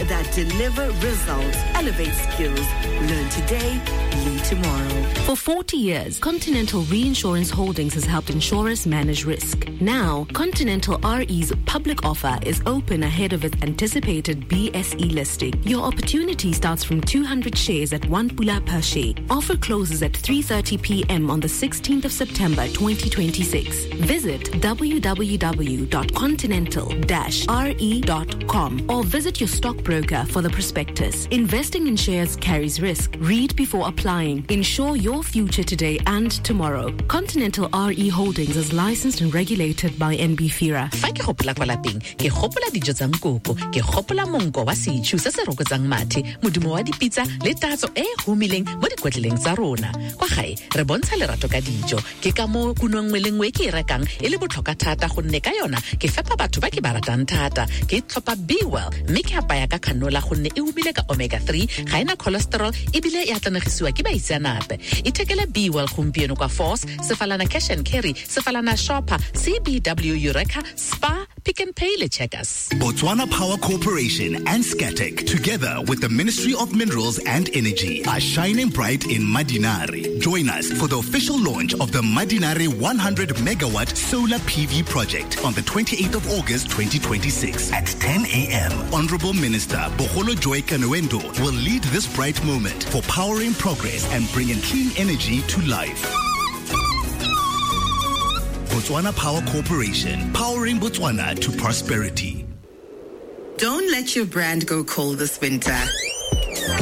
that deliver results. Elevate skills. Learn today, lead tomorrow. For 40 years, Continental Reinsurance Holdings has helped insurers manage risk. Now, Continental RE's public offer is open ahead of its anticipated BSE listing. Your opportunity starts from 200 shares at 1 pula per share. Offer closes at 3:30 p.m. on the 16th of September 2026. Visit www.continental-re.com or visit your stockbroker for the prospectus. Investing in shares carries risk. Read before applying. Ensure your future today and tomorrow. Continental RE Holdings is licensed and regulated by NB FIRA. Fa ke gopola kwa lapeng, ke gopola dijo tsa nkoko, ke gopola monko wa setšhu se se rokotsang mathe, modumo wa dipitsa le tatso e e humileng mo dikotleleng tsa rona. Kwa gae re bontsha lerato ka dijo. Ke ka moo kuno nngwe le nngwe e ke e rekang e le botlhokwa thata, gonne ka yona ke fepa batho ba ke ba ratang thata. Ke tlhopha Bewell mme ke apaya ka canola gonne e humile ka omega 3, ga ena cholesterol ebile e atlanegisiwa ke baitseanape. Ithekele Bewell gompieno kwa Force, Sefalana Cash and Carry, Sefalana Shopper, CBW Eureka, Spar, Pick n Pay le Checkers. Botswana Power Corporation and Scatec, together with the Ministry of Minerals and Energy, are shining bright in Mmadinare. Join us for the official launch of the Mmadinare 100 megawatt solar PV project on the 28th of August 2026 at 10 a.m. Honorable Minister Bogolo Joy Kenewendo will lead this bright moment for powering progress and bringing clean energy to life. Botswana Power Corporation, powering Botswana to prosperity. Don't let your brand go cold this winter.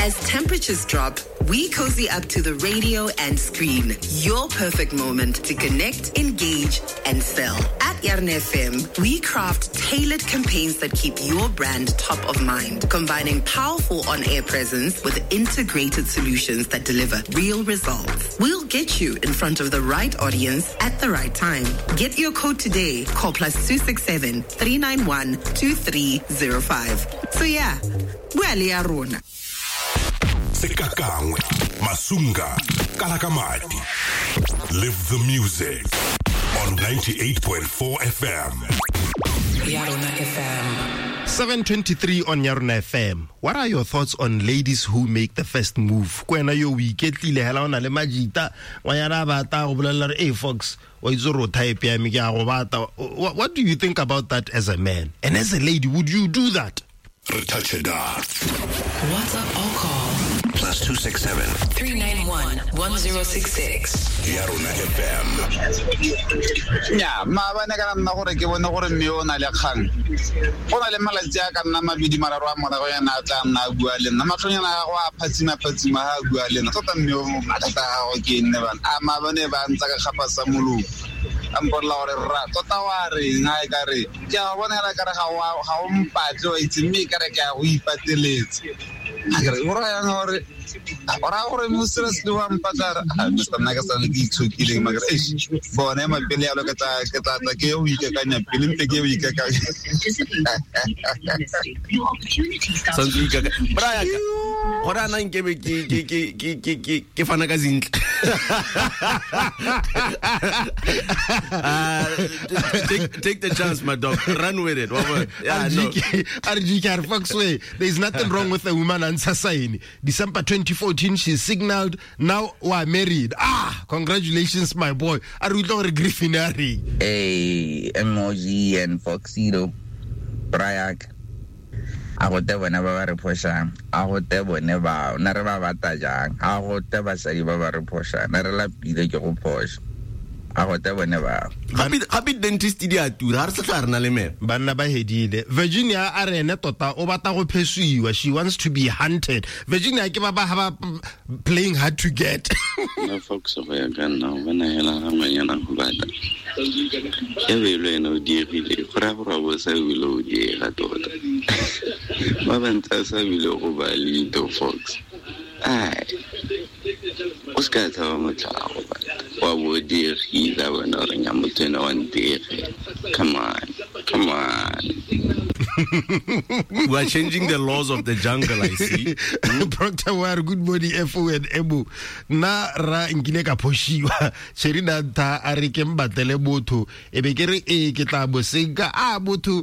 As temperatures drop, we cozy up to the radio and screen. Your perfect moment to connect, engage, and sell. At Yarona FM, we craft tailored campaigns that keep your brand top of mind, combining powerful on-air presence with integrated solutions that deliver real results. We'll get you in front of the right audience at the right time. Get your quote today. Call +267 391 2305. So yeah, well, Yarona. Sekakangwe, Masunga, Kalakamati. Live the music on 98.4 FM. Yarona FM. 7:23 on Yarona FM. What are your thoughts on ladies who make the first move? Ko wena yo o iketlile hela o na le majita, ngwanyana a bata go bolelela re, "Hey Fox, wa itse gore o type ya me, ke a go bata." What do you think about that as a man? And as a lady, would you do that? Re touch it up. WhatsApp or call +267 391 1066. Yarona FM. Nya, maabane ka nna gore ke bone gore mme o na le kgang. Go na le malatsi a ka nna mabedi mararo a morago yana a tla nna a bua le nna. Matlhonyana a gagwe a phatsima phatsima ha a bua le nna. Tota mme o mathata a gagwe ke nne bana. A maabane ba ntsa ka kgapa sa molomo. A mpolelela gore rra tota wa reng ha e ka re ke a bona hela kare ga o mpatle wa itse mme e kare ke a go ipateletse. A ke re o raya yang gore o raya gore mo seriously wa mpatla re ah Mr nna ke sa le ke itshokileng ma ke re eish bone ema pele yalo ke tla tla ke yo ikakanya pele mpe ke yo ikakanya. Santse o ikaka bra yaka gore a na nkebe ke fana ka zintle. Take the chance, my dog. Run with it. Yeah, no. RGK, Foxway. There's nothing wrong with a woman answer sign. December 2014, she signaled, now we are married. Ah, congratulations, my boy. A re utlwa gore Griffin a reng. Hey, Emoji and Foxito. Brayak. A go te bone ba ba re phošang, a go te bone bao, na re ba bata jang, a go te basadi ba ba re phošang, na re lapile ke go phoša, a go te bone bao. Gape dentist di a tura, ga re sa tla re na le meno. Banna ba hedile. Virginia a re ene tota o batla go phesiwa, she wants to be hunted. Virginia ke ba ba ha ba playing hard to get. Nna Fox go ya ka nna o bona hela ga ngwanyana go bata. E be le wena o diegile, go raya gore wa bo sa bile o diega tota. Ba bantsi a sa bile go ba leto Fox. Ai, o se ka tshaba motho a go bata. Wa bo o diegile a bona gore nya motho ena wa ntiege. Come on, come on. We are changing the laws of the jungle, I see. Proctor wa re good morning FO and Ebo. Nna ra nkile ka phoshiwa. Sherina ntha a re ke mbatlele botho. E be ke re ee ke tla bo senka. A botho